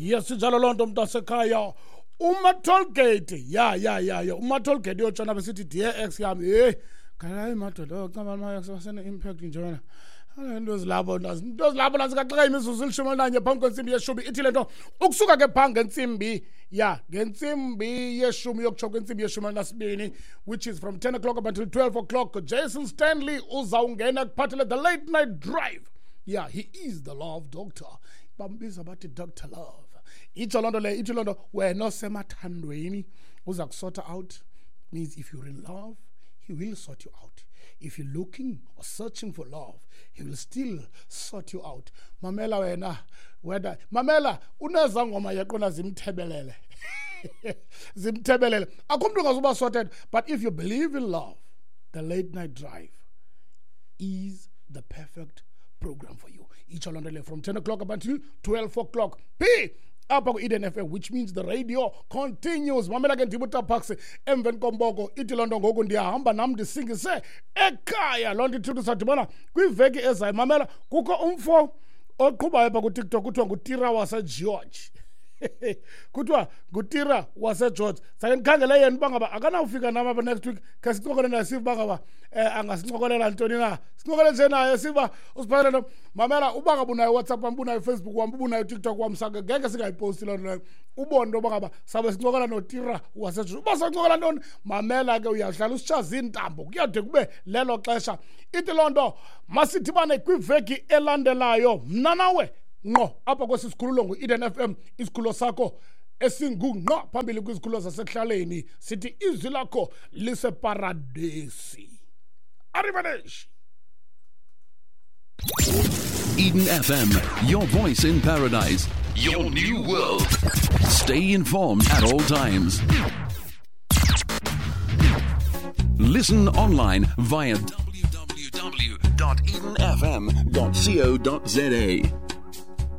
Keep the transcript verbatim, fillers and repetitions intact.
Yes, injalo loo nto, mntasekhaya. Uma-tollgate, ya ya ya ya uma-tollgate uyotshona besithi, "Dear ex yam." Heyi, hayi madoda, caba ama-ex basene-impact nje wena. Into ezilapho, into ezilapho nasikaxaka. Imizuzu elishumi elinanye phambi kwentsimbi yeshumi. Ithi le nto ukusuka ke phaa ngentsimbi, ya, ngentsimbi yeshumi yokutsho kwentsimbi yeshumi elinasibini, which is from ten o'clock up until twelve o'clock, Jason Stanley uzawungena kuphathele the late night drive. Yeah, he is the love doctor, bambiza bathi Doctor Love. Itsho loo nto leyo, ithi loo nto wena osemathandweni uza kusota out. Means if you're in love, he will sort you out. If you're looking or searching for love, he will still sort you out. Mamela wena, wena mamela, unezangoma yaqona zimthebelele, zimthebelele, akho mntu ungazuba sorted. But if you believe in love, the late night drive is the perfect program for you. Itsho loo nto leyo, from ten o'clock up until twelve o'clock p apha ku-Eden F M, which means the radio continues. Mamela ke, ndibuta Parks emveni komboko. Ithi loo nto ngoku ndiyahamba nam, ndisingise ekhaya. Loo nto ithi sadibana kwiveki ezayo. Mamela, kukho umfo oqhubayo pha kuTikTok, kuthiwa nguTira waseGeorge, kuthiwa nguTira waseGeorge. Sake ndikhangele yena uba ngaba akanawufika nam apha next week, khe sincokole naye, sive uba ngaba um angasincokolela ntoni na. Sincokole nje naye, siba usiphathele nto. Mamela, uba ngaba unayo WhatsApp wam, ubunayo Facebook wam, ubunayo TikTok wam, sake ngeke singayiposti loo nto leyo, ubone into yoba ngaba sabe sincokola noTira waseGeorge. Uba sancokola ntoni, mamela ke, uyawuhlala usitshaza iintambo kuyade kube lelo xesha. Ithi loo nto masidibane kwiveki elandelayo, mna nawe, ngqo apha kwesi sikhululo ngu-Eden F M, isikhululo sakho esingungqo phambili kwizikhululo zasekuhlaleni. Sithi izwi lakho liseparadesi. Arrivederci. Eden F M, your voice in paradise, your new world. Stay informed at all times. Listen online via w w w dot eden f m dot co dot z a.